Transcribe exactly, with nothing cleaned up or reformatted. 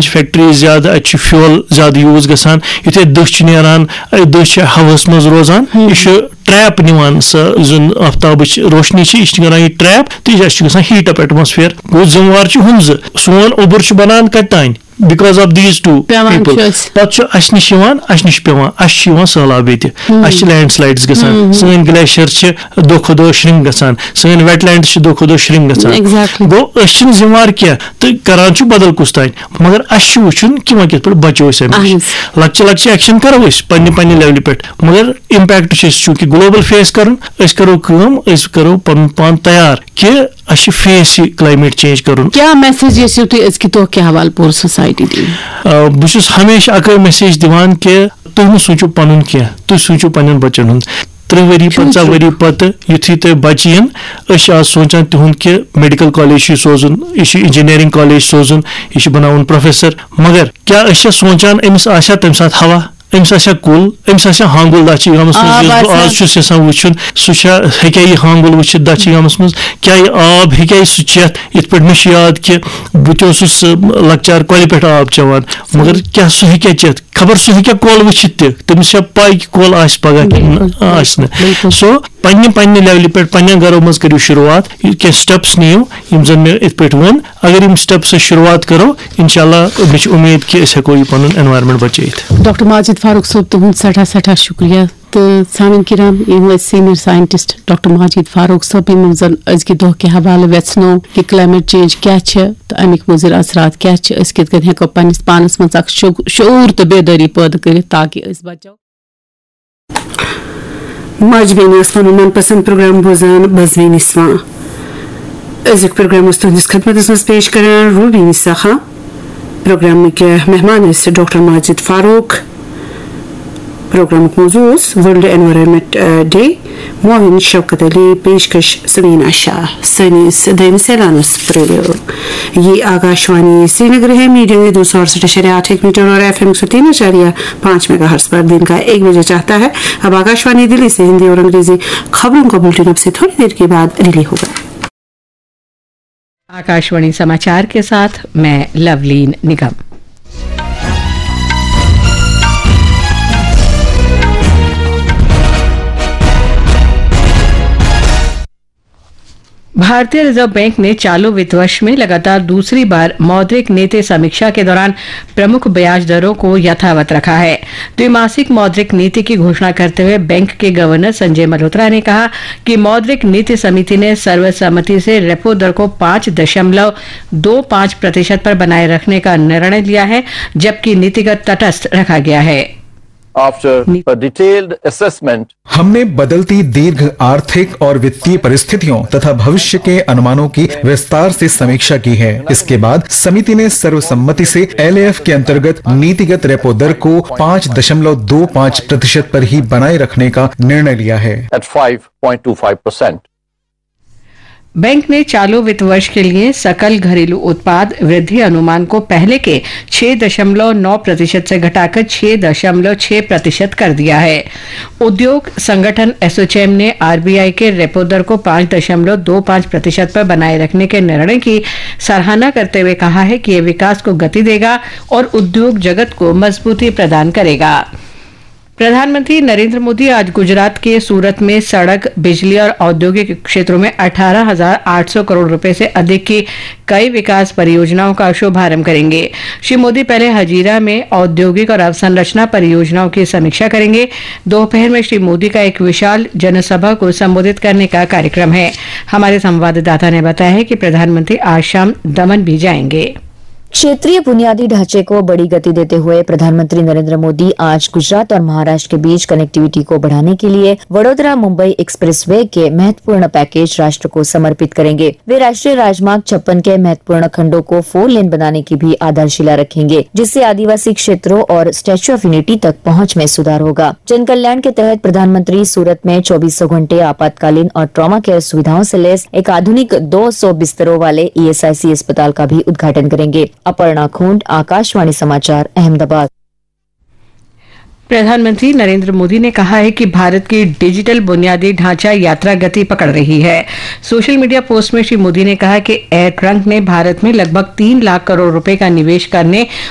چھِ فیکٹریز زیادٕ، اَتہِ چھُ فیول زیادٕ یوٗز گژھان۔ یُتھُے دٔہ چھِ نیران، اَتہِ دٔہ چھِ ہوہَس منٛز روزان، یہِ چھُ ٹریپ نِوان، سۄ یُس زَن آفتابٕچ روشنی چھِ، یہِ چھِ نیران یہِ ٹریپ، تہٕ یہِ چھُ گژھان ہیٖٹ اپ ایٹماسفیئر۔ گوٚو، ذمہٕ وار چھُ ہُم زٕ۔ سون اوٚبُر چھُ بَنان کَتہِ تام؟ Because of these two people. پٮ۪وان چھُ اَسہِ۔ پَتہٕ چھُ اَسہِ نِش یِوان، اَسہِ نِش پٮ۪وان، اَسہِ چھُ یِوان سہلاب ییٚتہِ۔ اَسہِ چھِ لینڈ سلایڈز گژھان، سٲنۍ گلیشیر چھِ دۄہ کھۄتہٕ دۄہ شرنک گژھان، سٲنۍ ویٹ لینڈز چھِ دۄہ کھۄتہٕ دۄہ شرنک گژھان۔ Exactly۔ گوٚو، أسۍ چھِنہٕ ذمہٕ وار کینٛہہ تہٕ کران چھُ بدل کُس تام، مگر اَسہِ چھُ وٕچھُن کہِ وۄنۍ کِتھ پٲٹھۍ بچو أسۍ اَمہِ نِش۔ اہن۔ لۄکچہِ لۄکچہِ ایکشن کرو أسۍ پننہِ پننہِ لیولہِ پٮ۪ٹھ، مگر امپیکٹ چھُ اَسہِ چوٗنٛکہِ گلوبل فیس کرُن، أسۍ کرو کٲم، أسۍ کرو پنُن پان تیار کہِ اَسہِ چھُ فیس یہِ کلایمیٹ چینج کرُن۔ کیٛاہ میسج یژھِو تُہۍ أزکہِ دۄہ کہِ حوالہٕ پوٗرٕ سوسایٹی دِنۍ؟ آ، بہٕ چھُس ہمیشہِ اَکٲے میسیج دِوان کہِ تُہۍ مہٕ سوٗنٛچِو پَنُن کینٛہہ، تُہۍ سوٗنٛچِو پنٛنٮ۪ن بَچَن ہُنٛد۔ تٕرٛہ ؤری، پنٛژاہ ؤری پَتہٕ یُتھُے تۄہہِ بَچہِ یِن، أسۍ چھِ آز سونٛچان تِہُنٛد کہِ میڈیکل کالج چھُ یہِ سوزُن، یہِ چھُ انجینئرنگ کالج سوزُن، یہِ چھُ بَناوُن پروفیسر۔ مگر کیٛاہ أسۍ چھا سونٛچان أمِس آسیا تَمہِ ساتہٕ ہوا؟ أمِس آسیا کُل؟ أمِس آسیا ہانٛگُل دَچھِ گامَس منٛز؟ آب یُس بہٕ آسیا؟ آز چھُس یَژھان وٕچھُن، سُہ چھا، ہیٚکیٛاہ یہِ ہانٛگُل وٕچھِتھ دَچھِ گامَس منٛز؟ کیٛاہ یہِ آب ہیٚکیٛاہ یہِ سُہ چٮ۪تھ؟ یِتھ پٲٹھۍ مےٚ چھُ یاد کہِ بہٕ تہِ اوسُس، آ، لۄکچار کۄلہِ پٮ۪ٹھ آب چٮ۪وان، مگر کیٛاہ سُہ ہیٚکیٛاہ چٮ۪تھ؟ خبر سُہ ہیٚکیٛاہ کۄل وٕچھِتھ تہِ، تٔمِس چھا پَے کہِ کۄل آسہِ پگاہ کِنہٕ بِلکُل، آسہِ نہٕ۔ بِلکُل۔ So، پننہِ، پننہِ لیولہِ پٮ۪ٹھ، پننٮ۪ن گرو منٛز کٔرِو شروٗعات، یہِ کینٛہہ steps نِیِو، یِم زن مےٚ یِتھ پٲٹھۍ ووٚن۔ اگر یِم steps أسۍ شروٗعات کرو، انشاءاللہ مےٚ چھِ اُمید کہِ أسۍ ہٮ۪کو یہِ پنُن environment بچٲیِتھ۔ ڈاکٹر ماجد فاروق صٲب، تُہُنٛد سٮ۪ٹھاہ، سٮ۪ٹھاہ شُکریہ۔ تہٕ سانٮ۪ن کرام، یِم ٲسۍ senior scientist doctor Majid Farooq صٲب، یِمن زن أزکہِ دۄہ کہِ حوالہٕ ویژھنو کہِ کلائمیٹ چینج کیٛاہ چھِ تہٕ اَمِکۍ مُضر اثرات کیٛاہ چھِ، أسۍ کِتھ کٔنۍ ہٮ۪کو پننِس پانس منٛز اکھ شعو-، شعوٗر تہٕ بیدٲری پٲدٕ کٔرِتھ تاکہِ أسۍ بچو۔ ماجہِ بیٚنہِ ٲس پنُن من پسند پروگرام بوزان بزوینہِ سوان۔ أزیُک پروگرام اوس تُہنٛدِس خدمتس منٛز پیش کران روبی نسا خان۔ پروگرامٕکۍ مہمان ٲسۍ ڈاکٹر ماجد فاروق۔ پروگرامُک موضوع اوس ورلڈ انوائرمنٹ ڈے۔ معاون شوکت علی، پیشکش سمینا شاہ۔ سٲنِس دوٚیمِس اعلانس پرٛٲرِو۔ یہ آکاشوانی سرینگر ہے، میڈیم ویو دو سو اڑسٹھ اعشاریہ آٹھ ایک میٹر اور ایف ایم ایک سو تین اعشاریہ پانچ میگا ہرٹز پر دن کا ایک بجے چاہتا ہے۔ اب آکاشوانی دلی سے ہندی اور انگریزی خبروں کا بلٹن اب سے تھوڑی دیر کے بعد ریلے ہوگا۔ आकाशवाणी समाचार के साथ मैं लवलीन निगम। भारतीय रिजर्व बैंक ने चालू वित्त वर्ष में लगातार दूसरी बार मौद्रिक नीति समीक्षा के दौरान प्रमुख ब्याज दरों को यथावत रखा है। द्विमासिक मौद्रिक नीति की घोषणा करते हुए बैंक के गवर्नर संजय मल्होत्रा ने कहा कि मौद्रिक नीति समिति ने सर्वसम्मति से रेपो दर को पाँच दशमलव दो पाँच प्रतिशत पर बनाए रखने का निर्णय लिया है, जबकि नीतिगत तटस्थ रखा गया है। After a detailed assessment, हमने बदलती दीर्घ आर्थिक और वित्तीय परिस्थितियों तथा भविष्य के अनुमानों की विस्तार से समीक्षा की है। इसके बाद समिति ने सर्वसम्मति से एलएएफ के अंतर्गत नीतिगत रेपो दर को पाँच दशमलव दो पाँच प्रतिशत पर ही बनाए रखने का निर्णय लिया है। At five point two five percent. Bank ने चालू वित्त वर्ष के लिए सकल घरेलू उत्पाद वृद्धि अनुमान को पहले के छह दशमलव नौ प्रतिशत से घटाकर छह दशमलव छह प्रतिशत कर दिया है। उद्योग संगठन एसोचैम ने आरबीआई के रेपो दर को पाँच दशमलव दो पाँच प्रतिशत पर बनाए रखने के निर्णय की सराहना करते हुए कहा है कि यह विकास को गति देगा और उद्योग जगत को मजबूती प्रदान करेगा। प्रधानमंत्री नरेंद्र मोदी आज गुजरात के सूरत में सड़क, बिजली और औद्योगिक क्षेत्रों में अठारह हजार आठ सौ करोड़ रुपए से अधिक की कई विकास परियोजनाओं का शुभारंभ करेंगे। श्री मोदी पहले हजीरा में औद्योगिक और अवसंरचना परियोजनाओं की समीक्षा करेंगे। दोपहर में श्री मोदी का एक विशाल जनसभा को संबोधित करने का कार्यक्रम है। हमारे संवाददाता ने बताया है कि प्रधानमंत्री आज शाम दमन भी जाएंगे। क्षेत्रीय बुनियादी ढांचे को बड़ी गति देते हुए प्रधानमंत्री नरेंद्र मोदी आज गुजरात और महाराष्ट्र के बीच कनेक्टिविटी को बढ़ाने के लिए वडोदरा मुंबई एक्सप्रेसवे के महत्वपूर्ण पैकेज राष्ट्र को समर्पित करेंगे। वे राष्ट्रीय राजमार्ग छप्पन के महत्वपूर्ण खंडों को फोर लेन बनाने की भी आधारशिला रखेंगे, जिससे आदिवासी क्षेत्रों और स्टैच्यू ऑफ यूनिटी तक पहुंच में सुधार होगा। जन कल्याण के तहत प्रधानमंत्री सूरत में चौबीसों घंटे आपातकालीन और ट्रॉमा केयर सुविधाओं से लैस एक आधुनिक दो सौ बिस्तरों वाले ईएसआईसी अस्पताल का भी उद्घाटन करेंगे। अपर्णा खोंड, आकाशवाणी समाचार, अहमदाबाद। प्रधानमंत्री नरेंद्र मोदी ने कहा है कि भारत की डिजिटल बुनियादी ढांचा यात्रा गति पकड़ रही है। सोशल मीडिया पोस्ट में श्री मोदी ने कहा कि एयर ट्रंक ने भारत में लगभग तीन लाख करोड़ रुपए का निवेश करने